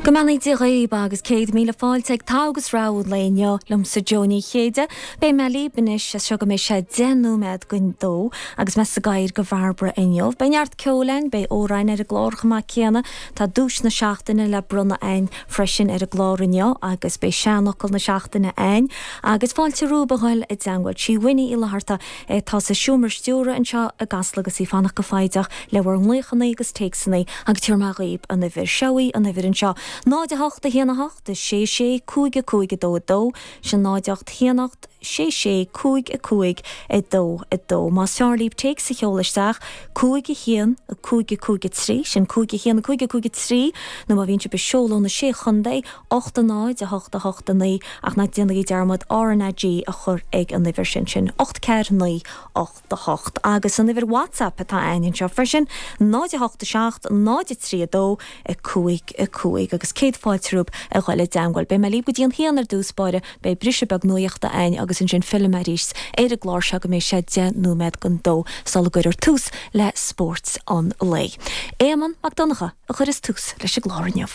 Go mbeannaí Dia dhaoib agus 100,000 fáilte ag Togha agus Rogha an lae inniu liomsa Jó Ní Chéide. Beidh mé libh anois as seo go mbeidh sé 10 nóiméad don dó agus mé sa gcathaoir do Bhairbre inniu. Beidh neart ceoil a'inn, beidh amhráin ar an gclár chomh maith céanna. Tá duais na seachtaine le bronnadh a'inn freisin ar an gclár inniu agus beidh seanfhocal na seachtaine a'inn agus fáilte romhaibh a ghoil i dteangmháil. Sí Winnie Uí Fhlatharta atá sa seomra stiúrtha anseo i gCasla agus í ag fanacht go foighdeach le bhur nglaochannaí agus téacsannaí agus tabharfaidh mé dhaoib an uimhir. Seo í an uimhir anseo, 0 8 1 8 6 6 5 5 2 2, sin 0 8 1 8 6 6 5 5 2 2. Más fearr libh téacs a sheoladh isteach, 5 1 5 5 3, sin 5 1 5 5 3, nó má bhíonn sibh ag seoladh ó na Sé Chontae, 8 0 8 8 9, ach ná déanaigí dearmad RnaG a chur ag an uimhir sin, sin 8 4 9 8 8. Agus an uimhir WhatsApp atá a'ainn anseo freisin, 0 8 7 0 3 2 5 5. Agus céad fáilte romhaibh a ghoil i dteangmháil. Beidh mé libh go dtí an haon ar dtús báire, beidh briseadh beag nuachta a'ainn agus ansin fillfidh mé arís ar an gclár seo go mbeidh sé 10 nóiméad don dó sula gcuirfear tús le spórt an lae. Éamonn Mac Donncha a chuireas tús leis an gclár inniu.